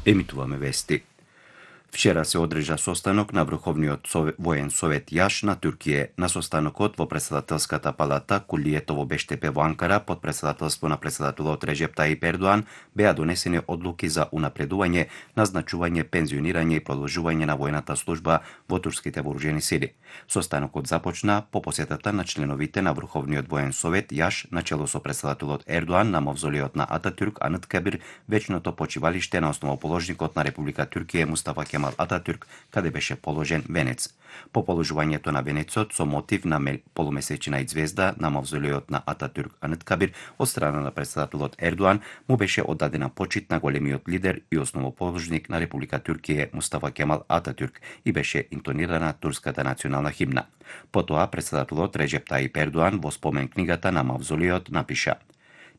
Емитуваме вести. Вчера се одржа состанок на Врховниот воен совет Јаш на Туркија. На состанокот во председателската палата Кулието во Бештепе во Анкара под председателство на председателот Реджеп Таип Ердоан беа донесени одлуки за унапредување, назначување, пензионирање и продолжување на војната служба во турските вооружени сили. Состанокот започна по посетата на членовите на Врховниот воен совет Јаш начело со председателот Ердоан на мавзолеот на Ататюрк Анıtkabir, вечното почивалиште на основоположникот на Република Туркија Мустафа Кемал Ататюрк, каде беше положен венец. По положувањето на венецот со мотив на полумесечина и звезда на мавзолеот на Ататюрк Анıtkabir од страна на председателот Ердоан му беше оддадена почит на големиот лидер и основоположник на Република Туркија Мустафа Кемал Ататюрк и беше интонирана турската национална химна. Потоа председателот Реджеп Таип Ердоан во спомен книгата на мавзолеот напиша: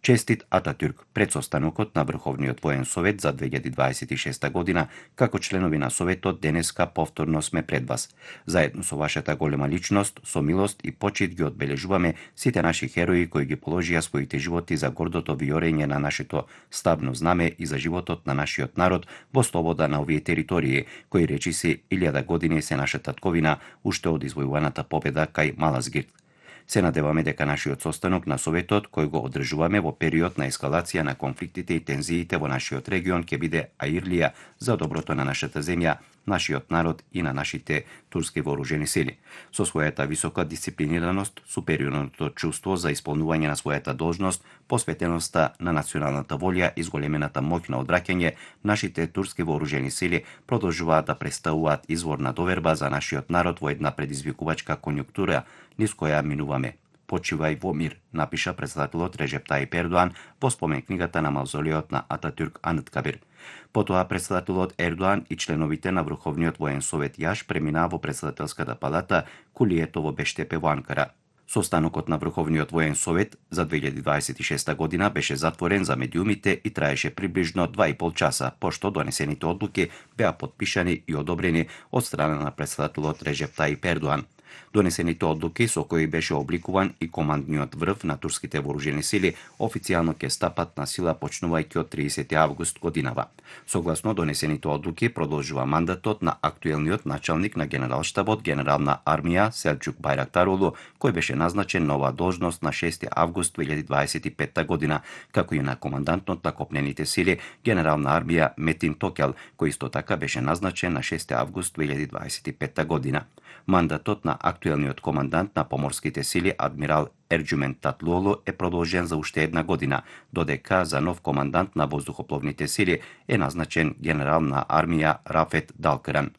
Честит Ататюрк, пред состанокот на Врховниот воен совет за 2026 година, како членови на советот денеска повторно сме пред вас. Заедно со вашата голема личност, со милост и почит ги одбележуваме сите наши херои кои ги положија своите животи за гордото виорење на нашето ставно знаме и за животот на нашиот народ во слобода на овие територии, кои речиси 1000 години се наша татковина уште од извојуваната победа кај Малазгирт. Се надеваме дека нашиот состанок на Советот, кој го одржуваме во период на ескалација на конфликтите и тензиите во нашиот регион, ќе биде аирлија за доброто на нашата земја, нашиот народ и на нашите турски вооружени сили. Со својата висока дисциплинираност, супериорното чувство за исполнување на својата должност, посветеноста на националната волја и зголемената моќ на одвраќање, нашите турски вооружени сили продолжуваат да представуваат извор на доверба за нашиот народ во една предизвикувачка конјунктура низ која минуваме. Почивај во мир, напиша председателот Реджеп Таип Ердоан во спомен книгата на мавзолеот на Ататюрк Анıtkabir. Потоа председателот Ердоан и членовите на Врховниот воен совет Јаш преминаа во председателската палата Кулието во Бештепе во Анкара. Состанокот на Врховниот воен совет за 2026 година беше затворен за медиумите и траеше приближно 2,5 часа, пошто донесените одлуки беа потпишани и одобрени од страна на председателот Реджеп Таип Ердоан. Донесените одлуки со кои беше обликуван и командниот врв на турските вооружени сили официјално ќе стапат на сила почнувајќи од 30 август годинава. Согласно донесените одлуки продолжува мандатот на актуелниот началник на генералштабот генерал на армија Селчук Байрактаролу, кој беше назначен на оваа должност на 6 август 2025 година, како и на командантот на копнените сили генерал на армија Метин Токел, кој исто така беше назначен на 6 август 2025 година. Мандатот на актуелниот командант на поморските сили адмирал Ерџумент Татлуолу е продолжен за уште една година, додека за нов командант на воздухопловните сили е назначен генерал на армија Рафет Далкран.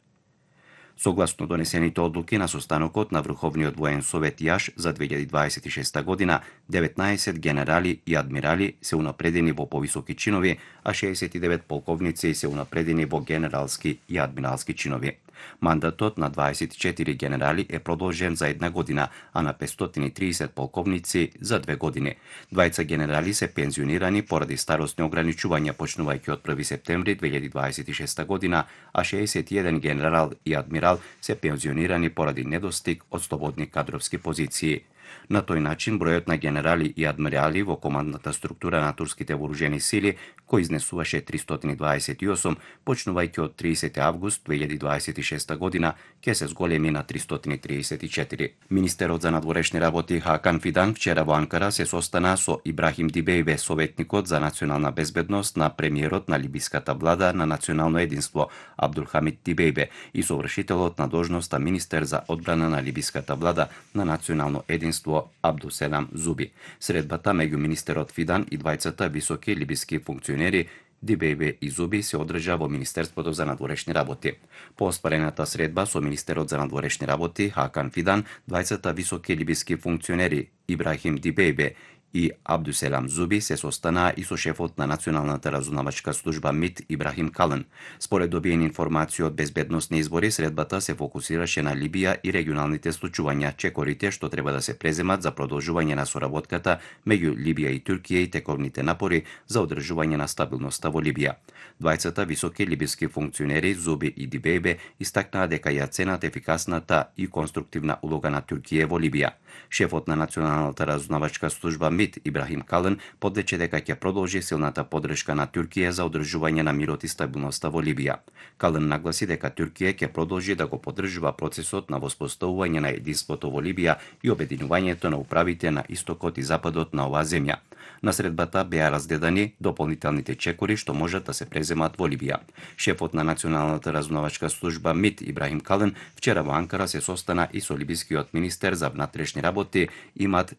Согласно донесените одлуки на состанокот на Врховниот воен совет Јаш за 2026 година, 19 генерали и адмирали се унапредени во повисоки чинови, а 69 полковници се унапредени во генералски и адмиралски чинови. Мандатот на 24 генерали е продолжен за една година, а на 530 полковници за 2 години. Двајца генерали се пензионирани поради старосни ограничувања почнувајќи од 1 септември 2026 година, а 61 генерал и адмирал се пензионирани поради недостиг од слободни кадровски позиции. На тој начин, бројот на генерали и адмирали во командната структура на турските вооружени сили, кој изнесуваше 328, почнувајќи од 30 август 2026 година, ќе се зголеми на 334. Министерот за надворешни работи Хакан Фидан вчера во Анкара се состана со Ибрахим Дибејбе, советникот за национална безбедност на премиерот на либиската влада на национално единство Абдулхамид Дибејбе и совршителот на должноста министер за одбрана на либиската влада на национално единство Абдуселам Зуби. Средбата меѓу министерот Фидан и двајцата високи либиски функционери Дибејбе и Зуби се одржа во Министерството за надворешни работи. По оспарената средба со министерот за надворешни работи Хакан Фидан, двајцата високи либиски функционери Ибрахим Дибејбе и Абдуселам Зуби се состанаа и со шефот на Националната разузнавачка служба МИТ Ибрахим Кален. Според добиени информации од безбедносни избори, средбата се фокусираше на Либија и регионалните случувања, чекорите што треба да се преземат за продолжување на соработката меѓу Либија и Туркија и тековните напори за одржување на стабилноста во Либија. Двајцата високи либиски функционери Зуби и Дибејбе истакнаа дека ја ценат ефикасната и конструктивна улога на Туркија во Либија. Шефот на Националната разузнавачка служба МИД Ибрахим Калын подлече дека ќе продолжи силната поддршка на Туркија за одржување на мирот и стабилноста во Либија. Калын нагласи дека Туркија ќе продолжи да го поддржува процесот на воспоставување на единството во Либија и обединувањето на управите на истокот и западот на оваа земја. На средбата беа раздедани дополнителните чекори што можат да се преземат во Либија. Шефот на Националната разузнавачка служба МИД Ибрахим Калын вчера во Анкара се состана и со либискиот министер за внатрешни работи Имад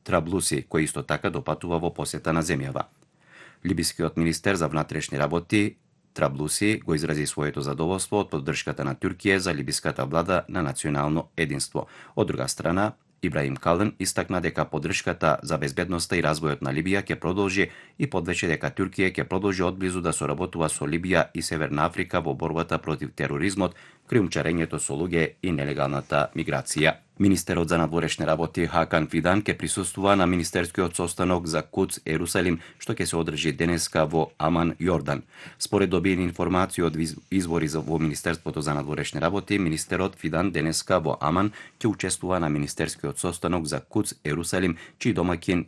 Траблуси, кој исто така допатува во посета на земјава. Либискиот министер за внатрешни работи Траблуси го изрази своето задоволство од поддршката на Туркија за либиската влада на национално единство. Од друга страна, Ибрахим Калын истакна дека поддршката за безбедноста и развојот на Либија ќе продолжи и подвече дека Туркија ќе продолжи одблизу да соработува со Либија и Северна Африка во борбата против тероризмот, криумчарењето со луѓе и нелегалната миграција. Министерот за надворешни работи Хакан Фидан ќе присуствува на министерскиот состанок за Кудс Ерусалим, што ќе се одржи денеска во Аман, Јордан. Според добиени информации од извори во Министерството за надворешни работи, министерот Фидан денеска во Аман ќе учествува на министерскиот состанок за Кудс Ерусалим, чиј домаќин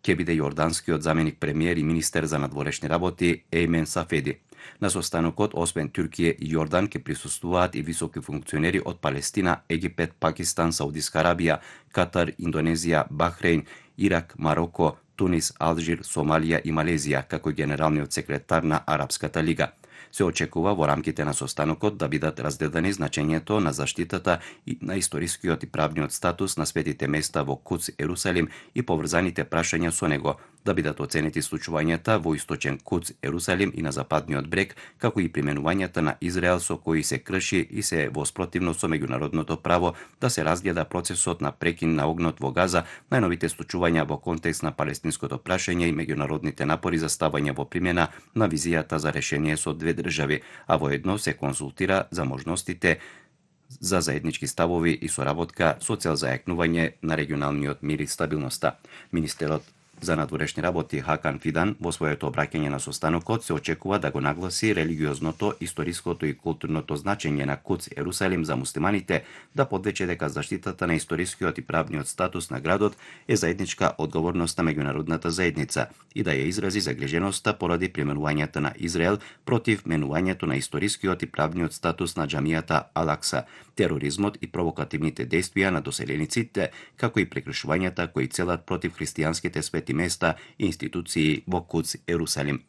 ќе биде јорданскиот заменик премиер и министер за надворешни работи Еймен Сафеди. На состанокот, освен Туркија и Јордан, ќе присуствуваат и високи функционери од Палестина, Египет, Пакистан, Саудиска Арабија, Катар, Индонезија, Бахрейн, Ирак, Мароко, Тунис, Алжир, Сомалија и Малезија, како и генералниот секретар на Арапската лига. Се очекува во рамките на состанокот да бидат раздедани значењето на заштитата и на историскиот и правниот статус на светите места во Кудс Ерусалим и поврзаните прашања со него, да бидат оценети случувањата во источен Кудс Ерусалим и на западниот брег, како и применувањата на Израел со кои се крши и се во спротивност со меѓународното право, да се разгледа процесот на прекин на огнот во Газа, најновите случувања во контекст на палестинското прашање и меѓународните напори за ставање во примена на визијата за решение со две држави, а воедно се консултира за можностите за заеднички ставови и соработка со цел зајакнување на регионалниот мир и стабилноста. Министерот за надворешни работи Хакан Фидан во своето обраќање на состанокот се очекува да го нагласи религиозното, историското и културното значење на Кудс Ерусалим за муслиманите, да подлече дека заштитата на историскиот и правниот статус на градот е заедничка одговорност на меѓународната заедница и да ја изрази загриженоста поради применувањето на Израел против менувањето на историскиот и правниот статус на џамијата Ал-Акса, тероризмот и провокативните дејствија на доселениците, како и прекршувањата кои целат против христијанските свети места и институции во Кудс Ерусалим.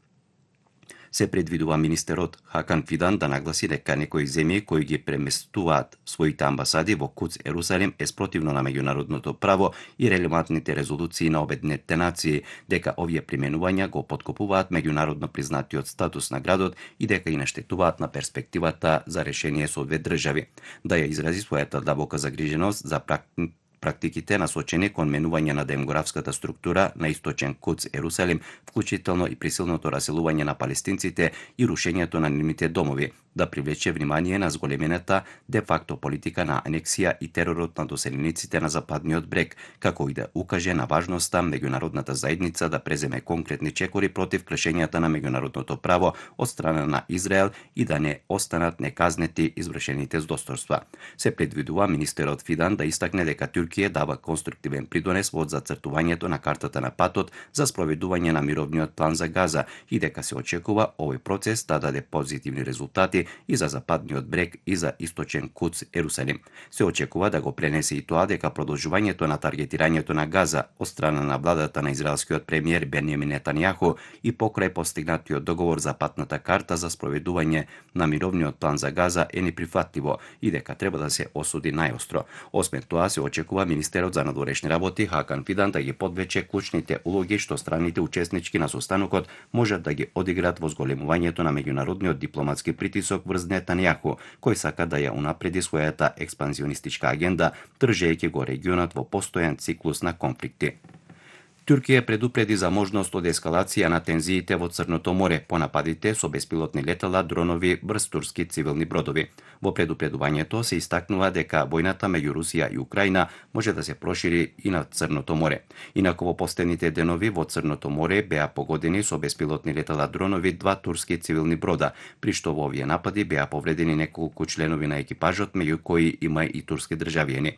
Се предвидува министерот Хакан Фидан да нагласи дека некои земји кои ги преместуваат своите амбасади во Кудс Ерусалим е спротивно на меѓународното право и релевантните резолуции на Обединетите нации, дека овие применувања го поткопуваат меѓународно признатиот статус на градот и дека и наштетуваат на перспективата за решение со две држави. Да ја изрази својата длабока загриженост за практиките насочени кон менување на демографската структура на источен Кудс Ерусалим, вклучително и присилното раселување на палестинците и рушењето на нивните домови, да привлече внимание на зголемената де-факто политика на анексија и теророт на доселениците на западниот брег, како и да укаже на важноста меѓународната заедница да преземе конкретни чекори против кршењата на меѓународното право од страна на Израел и да не останат неказнети извршените злосторства. Се предвидува министерот Фидан да истакне дека Туркија дава конструктивен придонес во зацртувањето на картата на патот за спроведување на мировниот план за Газа и дека се очекува овој процес да даде позитивни резултати и за западниот брег и за источен Кудс Ерусалим. Се очекува да го пренесе и тоа дека продолжувањето на таргетирањето на Газа од страна на владата на израелскиот премиер Бенјамин Нетањаху и покрај постигнатиот договор за патната карта за спроведување на мировниот план за Газа е неприфатливо и дека треба да се осуди најостро. Освен тоа, се очекува министерот за надворешни работи Хакан Фидан да ги подвече клучните улоги што страните учеснички на состанокот можат да ги одиграат во зголемувањето на меѓународниот дипломатски притисок врз Нетањаху, кој сака да ја унапреди својата експанзионистичка агенда, држејќи го регионот во постојан циклус на конфликти. Туркија предупреди за можност од ескалација на тензиите во Црното море по нападите со беспилотни летала, дронови врз турски цивилни бродови. Во предупредувањето се истакнува дека војната меѓу Русија и Украина може да се прошири и на Црното море. Инаку во последните денови во Црното море беа погодени со беспилотни летала дронови два турски цивилни брода, при што во овие напади беа повредени неколку членови на екипажот, меѓу кои има и турски државјани.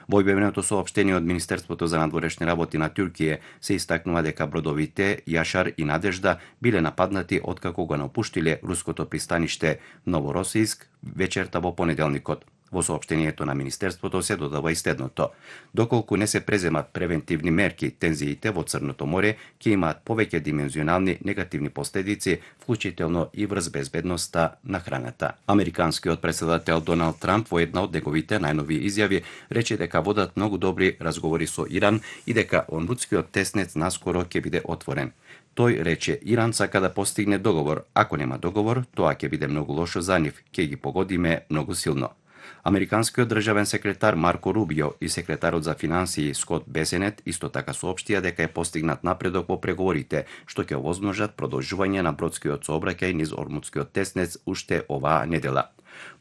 Во објавеното соопштение од Министерството за надворешни работи на Туркија се истакнува дека бродовите Јашар и Надежда биле нападнати откако го напуштиле руското пристаниште Новоросијск вечерта во понеделникот. Во соопштението на Министерството се додава и следното. Доколку не се преземат превентивни мерки, тензиите во Црното море ќе имаат повеќе димензионални негативни последици, вклучително и врз безбедноста на храната. Американскиот претседател Доналд Трамп во една од неговите најнови изјави рече дека водат многу добри разговори со Иран и дека Ормудскиот теснец наскоро ќе биде отворен. Тој рече Иран сака да постигне договор. Ако нема договор, тоа ќе биде многу лошо за нив, ќе ги погодиме многу силно. Американскиот државен секретар Марко Рубио и секретарот за финансии Скот Бесенет исто така соопштија дека е постигнат напредок во преговорите, што ќе овозможат продолжување на бродскиот сообраќај низ Ормудскиот теснец уште оваа недела.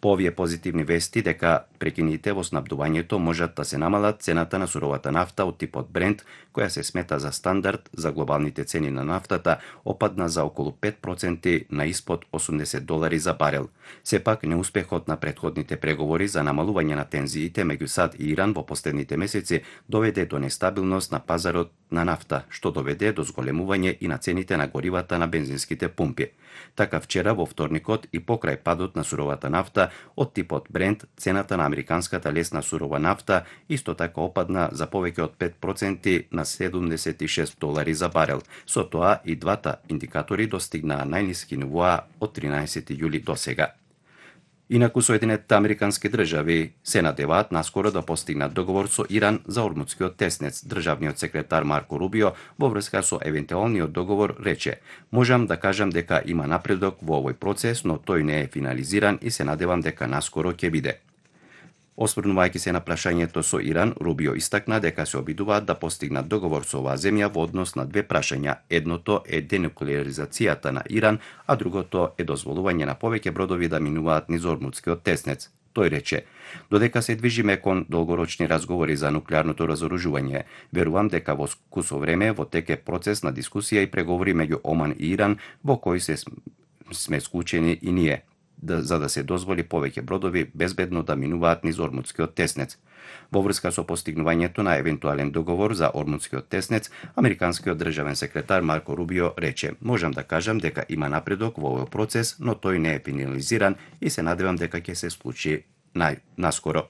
По овие позитивни вести дека прекините во снабдувањето можат да се намалат, цената на суровата нафта од типот Брент, која се смета за стандард за глобалните цени на нафтата, опадна за околу 5% на испод $80 за барел. Сепак, неуспехот на претходните преговори за намалување на тензиите меѓу САД и Иран во последните месеци доведе до нестабилност на пазарот на нафта, што доведе до зголемување и на цените на горивата на бензинските пумпи. Така вчера во вторникот и покрај падот на суровата нафта од типот Брент, цената на американската лесна сурова нафта исто така опадна за повеќе од 5% на $76 за барел. Со тоа и двата индикатори достигнаа најниски нивоа од 13 јули до сега. Инаку Соединетите американски држави се надеваат наскоро да постигнат договор со Иран за Ормудскиот теснец. Државниот секретар Марко Рубио во врска со евентуалниот договор рече: "Можам да кажам дека има напредок во овој процес, но тој не е финализиран и се надевам дека наскоро ќе биде." Осврнувајќи се на прашањето со Иран, Рубио истакна дека се обидуваат да постигнат договор со оваа земја во однос на две прашања. Едното е денуклеаризацијата на Иран, а другото е дозволување на повеќе бродови да минуваат низ Ормудскиот теснец. Тој рече: "Додека се движиме кон долгорочни разговори за нуклеарното разоружување, верувам дека во скусо време во тек процес на дискусија и преговори меѓу Оман и Иран во кој сме склучени и ние, за да се дозволи повеќе бродови безбедно да минуваат низ Ормудскиот теснец." Во врска со постигнувањето на евентуален договор за Ормудскиот теснец, американскиот државен секретар Марко Рубио рече: "Можам да кажам дека има напредок во овој процес, но тој не е финализиран и се надевам дека ќе се случи наскоро."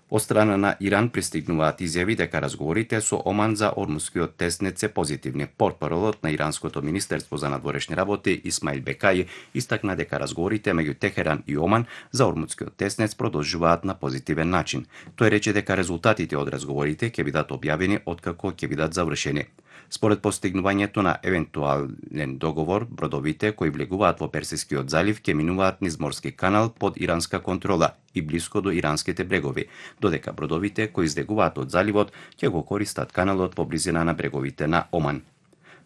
Од страна на Иран пристигнуваат изјави дека разговорите со Оман за Ормудскиот теснец се позитивни. Портпаролот на Иранското министерство за надворешни работи Исмаил Бекаи истакна дека разговорите меѓу Техеран и Оман за Ормудскиот теснец продолжуваат на позитивен начин. Тој рече дека резултатите од разговорите ќе бидат објавени откако ќе бидат завршени. Според постигнувањето на евентуален договор, бродовите кои влегуваат во Персискиот залив ќе минуваат низ морски канал под иранска контрола и блиско до иранските брегови, додека бродовите кои излегуваат од заливот ќе го користат каналот во близина на бреговите на Оман.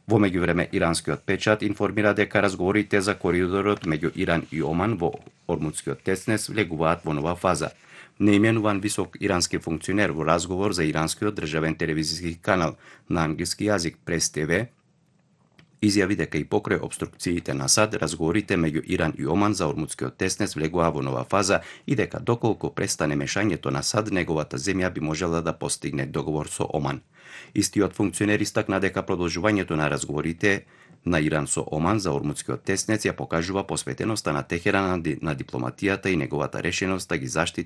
Во меѓувреме, иранскиот печат информира дека разговорите за коридорот меѓу Иран и Оман во Ормудскиот теснец влегуваат во нова фаза. Неименуван висок ирански функционер во разговор за иранскиот државен телевизиски канал на англиски јазик Прес ТВ изјави дека и покрај обструкциите на САД, разговорите меѓу Иран и Оман за Ормудскиот теснец влегува во нова фаза и дека доколку престане мешањето на САД, неговата земја би можела да постигне договор со Оман. Истиот функционер истакна дека продолжувањето на разговорите на Иран со Оман за Ормудскиот теснец ја покажува посветеноста на Техеран на дипломатијата и неговата решеност да ги заштити